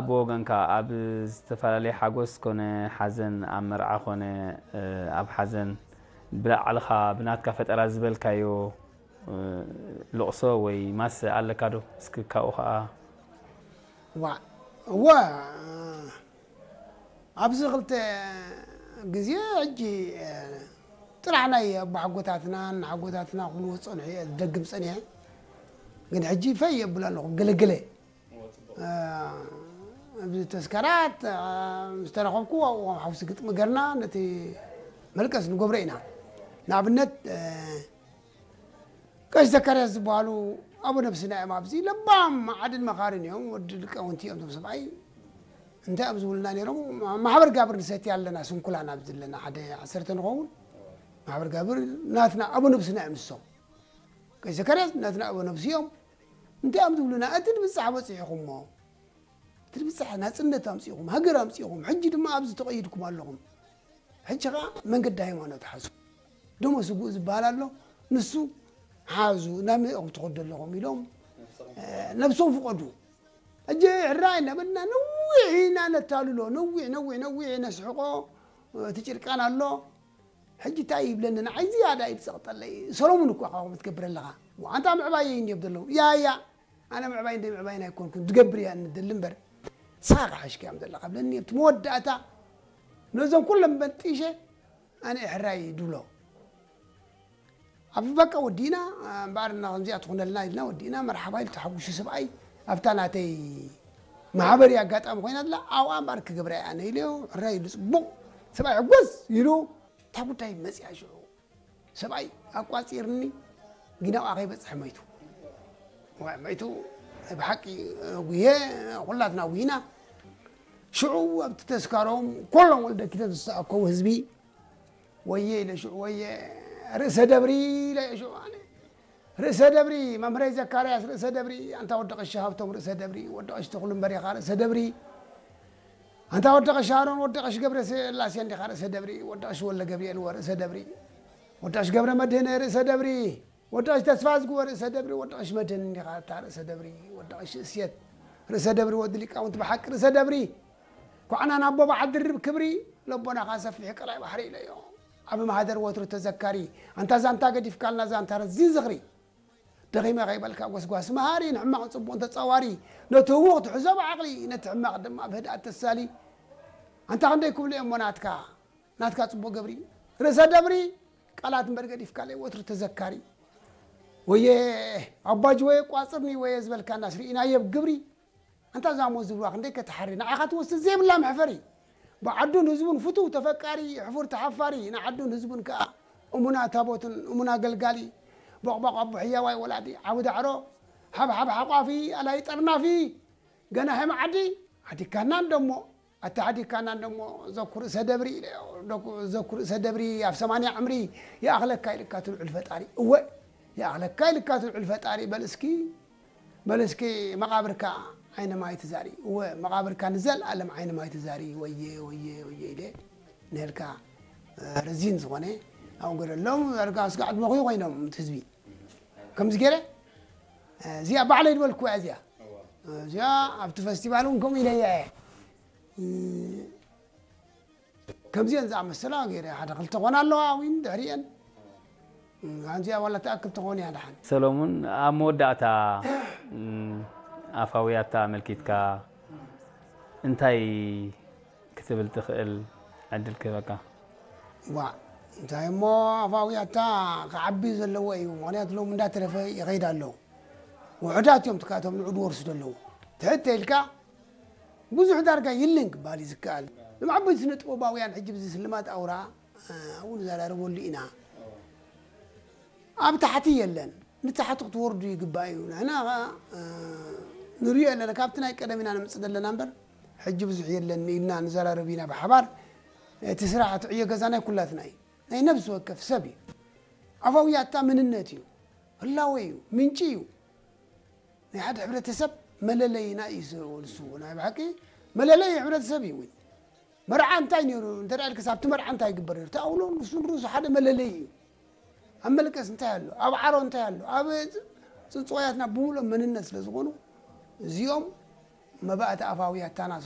ብወገንካ ኣብ ዝተፈላለየ ሓጎስ ኮነ ሓዘን፣ ኣብ መርዓ ኮነ ኣብ ሓዘን ብላዕልኻ ብናትካ ፈጠራ ዝበልካዮ ልቕሶ ወይ ማሰ ኣለካ ዶ? እስኪ ካብኡ ኸዓ ዋ እወ ኣብዚ ክልተ ግዜ ሕጂ ጥራሕ ናይ ኣቦሓጎታትና እናሓጎታትና ክብልዎ ዝፀንሑ እየ ዝደግም ፀኒሐ። ግን ሕጂ ፈይ የብሉ ኣለኹ ገለገለ ኣብዚ ተስካራት ምስ ተረኸብኩ ኣብኡ ከም ሓውሲ ግጥሚ ገርና ነቲ መልቀስ ንገብሮ ኢና። ንኣብነት ቀሽ ዘካርያስ ዝበሃሉ ኣቦ ነብስና እዮም። ኣብዚ ለባም ዓድን መኻርን እዮም። ወዲ ሊቃውንቲ እዮም እዞም ሰብኣይ። እንታይ እዮም ዝብሉና ነይሮም? ማሕበር ጋብር ንሰቲ ኣለና ስንኩላን ኣብዚ ኣለና ሓደ ዓሰርተ ንኸውን ማሕበር ጋብር ናትና ኣቦ ነብስና እዮም ንሶም። ቀሽ ዘካርያስ ናትና ኣቦ ነብሲ እዮም። እንታይ እዮም ዝብሉና? እቲ ንብጻሕ በጺሕኹሞ እቲ ንብጻሕ ናጽነት ኣምጺኹም ሃገር ኣምጺኹም ሕጂ ድማ ኣብዚ ተቐይድኩም ኣለኹም። ሕጂ ኸዓ መንገዲ ሃይማኖት ሓዙ። ደሞ ስጉእ ዝበሃል ኣሎ። ንሱ ሓዙ ናብ ምእኹም ትኸዱ ኣለኹም ኢሎም ነብሶም ፍቐዱ። ሕጂ ሕራይ እናበልና ነዊሕ ኢና ነታልሎ። ነዊሕ ነዊሕ ነዊሕ ነስሕቆ። እቲ ጭርቃን ኣሎ። ሕጂ እንታይ ይብለኒ ንዓይ ዝያዳ እዩ ዝጸቕጠለይ። ሰሎሙን እኳ ካብኡ ትገብር ኣለኻ። ኣንታ ምዕባየይ እንድዮም ዘለዉ። ያ ያ ኣነ ምዕባይ እንደ ምዕባይን ኣይኮንኩን ዝገብር እያ እንደሊ እምበር ንስኻ ክሓሽካ እዮም ዘለኻ ብለኒ ኣብቲ መወዳእታ ነዞም ኩሎም በንጢሸ ኣነ ሕራይ ድብሎ ኣብ በቃ ወዲእና እምበኣር እና ከምዚኣ ትኾነልና ኢልና ወዲእና መርሓባ ኢሉ ተሓጉሹ ሰብኣይ ኣብታ ናተይ ማሕበር ኣጋጣሚ ኮይና ኣላ ኣብኣ እምበኣር ክገብራ እያ ኣነ ኢለዮ ሕራይ ኢሉ ፅቡቕ ሰብኣይ ሕጎስ ኢሉ እታ ጉዳይ መፅያ ሽዑ ሰብኣይ ኣቋፂርኒ ጊናኣ ከይበፅሐ መይቱ። መይቱ ብሓቂ ጉየ ኩላትና ጉይና። ሽዑ ኣብቲ ተስካሮም ኮሎም ወልደ ኪዳን ዝተኣከቡ ህዝቢ ወየ ኢለ ሽዑ ወየ ርእሰ ደብሪ ኢለ ሽዑ ኣነ ርእሰ ደብሪ መምህረይ ዘካርያስ ርእሰ ደብሪ ኣንታ ወዲ ቀሺ ሃብቶም ርእሰ ደብሪ ወዲ ቀሺ ተኽሉ እምበሪኻ ርእሰ ደብሪ ኣንታ ወዲ ቀሺ ኣሮን ወዲ ቀሺ ገብረ ስላሴ እንዲኻ ርእሰ ደብሪ ወዲ ቀሺ ወልደ ገብርኤል ወርእሰ ደብሪ ወዲ ቀሺ ገብረ መድህነ ርእሰ ደብሪ ወዲ ቀሺ ተስፋ ዝግወ ርእሰ ደብሪ ወዲ ቀሺ መድህን እንዲኻ እታ ርእሰ ደብሪ ወዲ ቀሺ እስየት ርእሰ ደብሪ ወዲ ሊቃውንቲ ብሓቂ ርእሰ ደብሪ ኳዕናን ኣቦ በዓል ድርብ ክብሪ ለቦናኻ ሰፊሕ ቀላይ ባሕሪ ኢለዮ ዓቢ ማህደር ወትሩ ተዘካሪ ኣንታ ዛንታ ገዲፍካልና ዛንታ ረዚ ዝኽሪ ደኺመ ከይበልካ ጎስጓስ መሃሪ ንሕማቕ ጽቡቕን ተጻዋሪ ነቲ ህዉኽ ትሕዞ ብዓቕሊ ነቲ ሕማቕ ድማ ብህድኣት ተሳሊ ኣንታ ክንደይ ክብሉ እሞ ናትካ ናትካ ጽቡቕ ገብሪ ርእሰ ደብሪ ቃላት እምበር ገዲፍካለይ ወትሩ ተዘካሪ ወየ ኣባጅ ወየ ቋጽርኒ ወየ ዝበልካናስ ርኢናዮ ብግብሪ ኣንታ ዛሞ ዝብልዋ ክንደይ ከተሓሪ ንዓኻ ትወስድ ዘይብላ መሕፈሪ ብዓዱን ህዝቡን ፍቱው ተፈቃሪ ሕፉር ተሓፋሪ ንዓዱን ህዝቡን ከኣ እሙና ታቦትን እሙና ገልጋሊ ቦቕቦቕ ኣቦ ሕያዋይ ወላዲ ዓቢ ዳዕሮ ሓብሓብ ሓቋፊ ኣላይ ጠርናፊ ገናሒ መዓዲ ሓዲካና እንደሞ ኣታ ሓዲካና እንደሞ ዘኩ ርእሰ ደብሪ ኢለዮ ዘኩ ርእሰ ደብሪ ኣብ ሰማንያ ዕምሪ ይኣኽለካ ኢልካ ትልዑል ፈጣሪ እወ ይኣኽለካ ኢልካ ትልዑል ፈጣሪ በል እስኪ በል እስኪ መቓብርካ ዓይነ ማይ ትዛሪ እወ መቓብርካ ንዘልኣለም ዓይነ ማይ ትዛሪ ወየ ወየ ወየ ኢለ ንህልካ ረዚን ዝኾነ ኣብኡ ገደሎም ዳርጋ ስጋዕ ድመኽዩ ኮይኖም እቲ ህዝቢ ከምዚ ገይረ እዚኣ ባዕለይ ዝበልኩዋ እዚኣ እዚኣ ኣብቲ ፈስቲቫል እውን ከምኡ ኢለያ እየ ከምዚአን ዝኣመሰላ ገይረ ሓደ ክልተ ኮና ኣለዋ እውን ድሕሪአን ኣንዚኣ ዋላ ትኣክል ትኾን እያ ድሓን ሰሎሙን ኣብ መወዳእታ ኣፋውያታ ኣመልኪትካ እንታይ ክትብል ትኽእል ዕድል ክህበካ ዋ እንታይ እሞ ኣፋውያታ ክዓቢ ዘለዎ እዩ ምክንያቱ ሎም እንዳተረፈ ይኸይድ ኣሎ ውሑዳት እዮም ትካቶም ንዑድ ወርሱ ዘለዉ ትሕተ ኢልካ ብዙሕ ዳርጋ የለን ክበሃል እዩ ዝከኣል። እዞም ዓበይቲ ስነ ጥበባውያን ሕጂ ብዚ ስልማት ኣውራ ኣብኡ ንዘራረበሉ ኢና። ኣብ ታሕቲ የለን። ንታሕቲ ክትወርዱ ይግባእ እዩ። ንሕና ኸዓ ንሪኦ ኣለና። ካብቲ ናይ ቀደም ኢና ነምፅእ ዘለና እምበር ሕጂ ብዙሕ የለን ኢልና ንዘራረብ ኢና ብሓባር። እቲ ስራሕ እቲ ዕዮ ገዛ ናይ ኩላትና እዩ። ናይ ነብሲ ወከፍ ሰብ እዩ። ኣፋውያታ መንነት እዩ። ህላወ እዩ። ምንጪ እዩ። ናይ ሓደ ሕብረተሰብ መለለይና እዩ ንሱ ናይ ብሓቂ መለለይ ሕብረተሰብ እዩ እውን መርዓ እንታይ ነይሩ እንተ ኢልክስ ኣብቲ መርዓ እንታይ ይግበር ነይሩ ተኣውሎ ንሱ ንርእሱ ሓደ መለለይ እዩ ኣብ መልቀስ እንታይ ኣሎ ኣብ ዓሮ እንታይ ኣሎ ኣብ ፅፅዋያትና ብምሉኦም መንነት ስለ ዝኾኑ እዚኦም መባእቲ ኣፋዊ ኣታና